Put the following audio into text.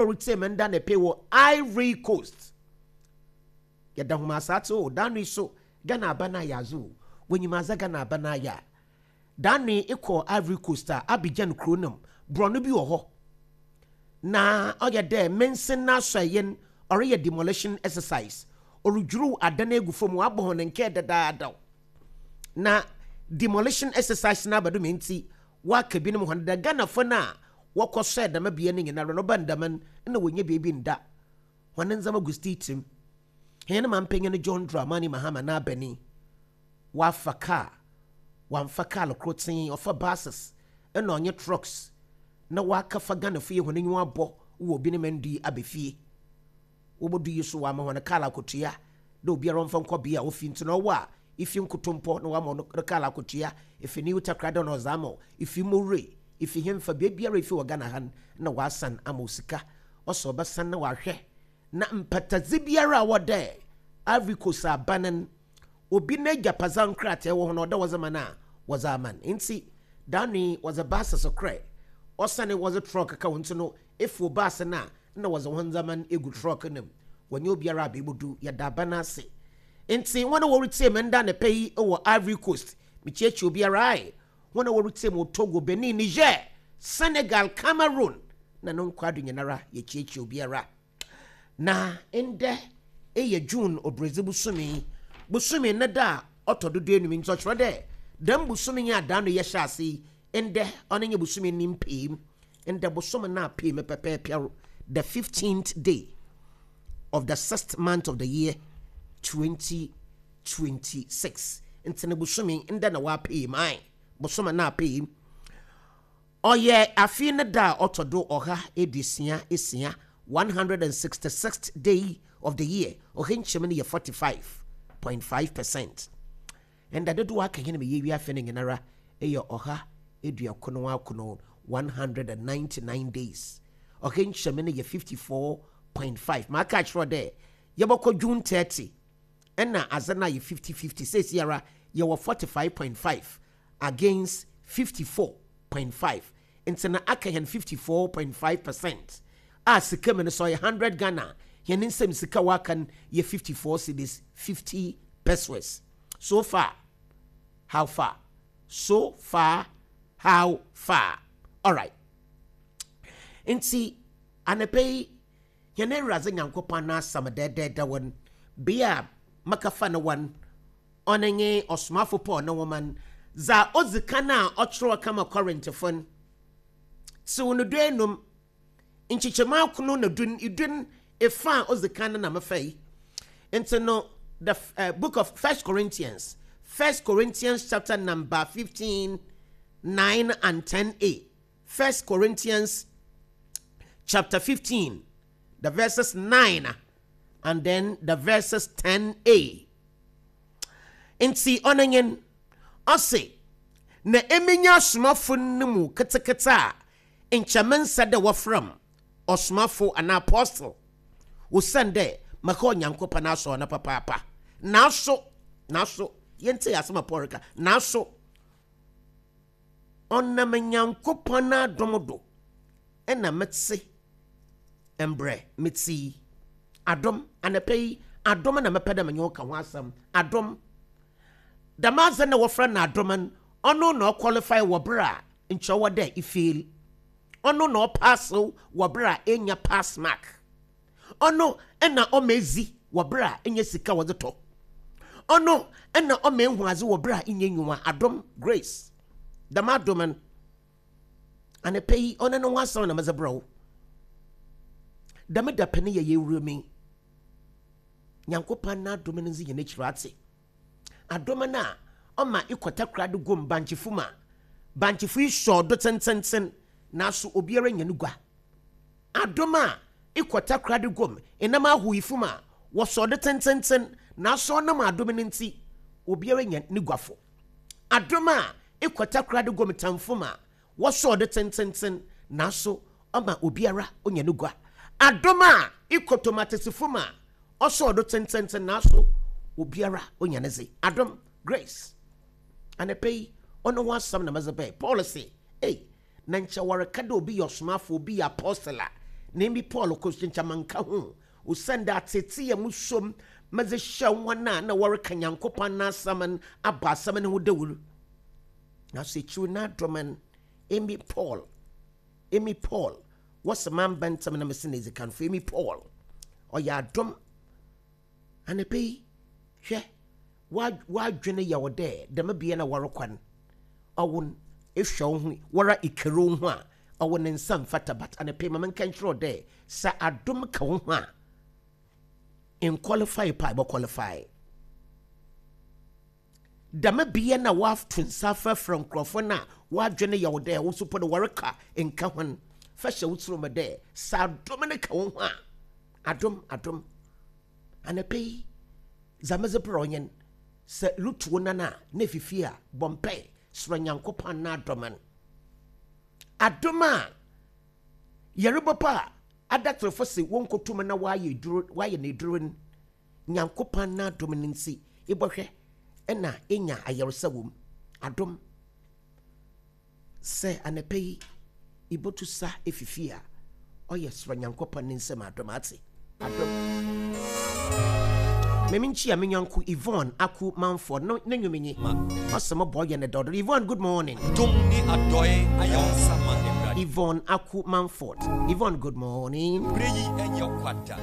Oritsie me nda ne pe wɔ Ivory Coast. Yɛda hom asaatse o, daano yi so Ghana aba no ayɛ adze o, wonyim adze a Ghana aba no ayɛ a. Daano yi ekɔ Ivory Coast a, Abidjan kurow no mu, borɔno bi wɔ hɔ na ɔyɛ dɛ mansin n'asɔɛe no ɔreyɛ demolition exercise, orudwuruw adan egu famu, ɔabɔ hɔn nkaa dadaadaw. Na demolition exercise no aba do ma ntsi wɔaka binom hɔn dɛ Ghanafo no a wɔkɔsoɛɛ dɛm bea no nyinara no, ɔba no dɛm no, nna wonnya beebi nnda. Hɔn ndzɛmba gu stiitsi mu. Hɛn mampanyin John Dramani Mahama n'abanyi, ɔafa kaar, ɔammfa kaar kortsee, ɔfa buses na ɔnye trucks na ɔakɛfa Ghanafo yi hɔn enyiwa abɔ wɔ binom ndu yi aba fie. Wobodu yi so wɔama hɔn kaar akotua dɛ obiara ɔmfa nkɔ bea a ofi ntsi na ɔwɔ a ifi Nkotompɔ na wɔama wo no kaar akotua, ifi New Takoradi na ɔdze ama wo, ifi Mowura, ifi henfa, beebiara a ifi wɔ Ghana ha no nna wɔasan ama wo sika. Ɔsɛ ɔbɛsan na ɔahwɛ na mpatadze biara a ɔwɔ dɛ Ivory Coast aban no obi n'egyapadze nkrataa wɔ ho no ɔwɔ dɛ wɔdze ma no a wɔdze ama no. Ntsi daano yi wɔdze buses korɛ, ɔsanee wɔdze truck ka ho ntsi no efow bus no a nna wɔdze hɔn ndzɛmba no egu truck no mu, wɔnye obiara a beebodu. Yɛda aban ase. Ntsi hɔn a woritsie me ndɛ anapa yi wɔ Ivory Coast, mikyiakyia obiara ae. Hɔn a woritsie me wɔ Togo, Benin, Niger, Senegal, Cameroon, na no nkwado nyinara, yekyiakyia obiara. Na ndɛ yɛ June Obiradzi bosome, bosome ne da a ɔtɔ do duenum, ntsi ɔkyerɛ dɛ dɛm bosome yi a daano yɛhyɛ ase yi, ndɛ ɔno nye bosome ne mpaamu. Ndɛ bosoom no apee me pɛpɛɛpɛr, the fifteenth day of the sixth month of the year 2026. Ntsi no bosome ndɛ na ɔapee mu, ae, bosoom no apee mu. Ɔyɛ afe no da a ɔtɔ do 166, 166th day of the year, ɔha nkyɛmu no yɛ 45.5%. Nda dodow a aka hɛn ma yeewie afe no nyinara yɛ 199, 199 days. Ɔha nkyɛmu no yɛ 54.5. Maaka akyerɛ wo dɛ yɛbɔkɔ June 30 nna adze no ayɛ 50-50. Seseiara yɛwɔ 45.5 against 54.5 ntsi na aka hɛn 54.5 percent a sika mu no sɛ ɔyɛ 100 Ghana a, hɛn nsamu sika a ɔaka no yɛ 54 cedis 50 pesewas. So far, how far? So far, how far? Alright. Ntsi anapa yi, hɛn Ewuradze Nyankopɔn n'asɛm dɛɛdɛɛdɛw no, bea a mɛkɛfa no wɔ no, ɔno nye Ɔsomafo Paul no nwoma no, dza odzi kan a ɔkyerɛw kɛma Corinthfo no, tsew no duenum, nkyekyɛmu akron na du du efa a odzi kan no na mefa yi. Ntsi no, the book of First Corinthians, First Corinthians chapter number 15, 9 and 10a. First Corinthians chapter 15, the verses 9 and then the verses 10a. Ntsi ɔno nye ɔse, na emi nye asomafo no mu ketseketse a nkyɛ mennsɛ dɛ wɔfrɛ m' ɔsomafo anaa apostle, osiandɛ maka Onyankopɔn n'asɔr no papaapa. Naaso, naaso, yɛntsie asɛm a Paul reka, naaso ɔnam Nyankopɔn n'adom do na metse mbrɛ metse yi. Adom, anapa yi, adom na mepɛ dɛ menye wo ka ho asɛm. Adom. Dɛm adze no a wɔfrɛ no adom no, ɔno na ɔqualify wɔ ber a nkyɛ ɔwɔ dɛ ifail. Ɔno na ɔpass wo wɔ ber a ennya pass mark. Ɔno na ɔma edzi wɔ ber a ennya sika wɔdze tɔ. Ɔno na ɔma ehu adze wɔ ber a innya enyiwa. Adom, grace. Dɛm adom no, anapa yi, ɔno no ho asɛm na medze brɛ wo. Dɛm dapɛn yi yɛ yɛwura mu yi, Nyankopɔn n'adom no ndzi hɛn ekyir atse. Adom no a ɔma ekɔ Takoradi guom bankyefo mu a, bankyefo yi sɔɔ do tsentsenntsen naaso obiara nnya no gua. Adom a ekɔ Takoradi guom enam ahoyifo mu a, wɔsɔɔ do tsentsenntsen naaso ɔnam adom no ntsi obiara nya ne guafo. Adom a ekɔ Takoradi guom tamfo mu a, wɔsɔɔ do tsentsenntsen naaso ɔma obiara onya no gua. Adom a ekɔ tomatesefo mu a, ɔsɔɔ do tsentsenntsen naaso obiara onya ne dze. Adom, grace. Anapa yi, ɔno ho asɛm na medze bae. Paul se, Ei, na nkyɛ wɔreka dɛ obi yɛ ɔsomafo, obi yɛ apostle a, Na emi Paul kor so nkyɛ mannka ho, osiandɛ atseetsee a musuo mu medze hyɛɛ hɔn a nna wɔreka Nyankopɔn n'asɛm no abɔ asɛm no ho dawur. Naaso ekyir no n'adom no, emi Paul, emi Paul, wɔse mamba ntsɛm na mesen edzikanfo, emi Paul, ɔyɛ adom. Anapa yi, hwɛ, w'adwen yɛ wo dɛ dɛm bea no a wɔrokɔ no, ɔwo no, ehwɛ woho, woara iker woho a, ɔwo ne nsa mmfata but anapa yi ma menka nkyerɛ wo dɛ, sɛ adom ka woho a, nnqualify po a ebɔqualify. Dɛm bea no a wɔato nsa afrɛfrɛ nkorɔfo no a w'adwen yɛ wo dɛ wo so po no wɔreka nka hɔn, fa hyɛ wo tsirmu dɛ sɛ adom no ka woho a, adom, adom. Anapa yi, dza medze brɛ wo nye n', sɛ erutu wo nan a na efi fie a, bɔ mpae serɛ Nyankopɔn n'adom n'. Adom a yarba po a adatserfo se wonnkotum na wɔayɛ edur, wɔayɛ no edur n', Nyankopɔn n'adom no ntsi, ebɔhwɛ na enya ayarsa wɔ mu. Adom. Sɛ anapa yi ibotu sa efi fie a, ɔyɛ srɛ Nyankopɔn ne nsamu adom, atse? Adom. Ma minkyia me nyɛnko Yvonne Aku Manford, no no nwom nye, Ɔse mo bɔ yɛ no dɔdɔ. Yvonne, good morning. Dom ne adɔe ayɛ wo nsa ma Awurade. Yvonne Aku Manford, Yvonne, good morning. Bere yi nyɛ kwa da.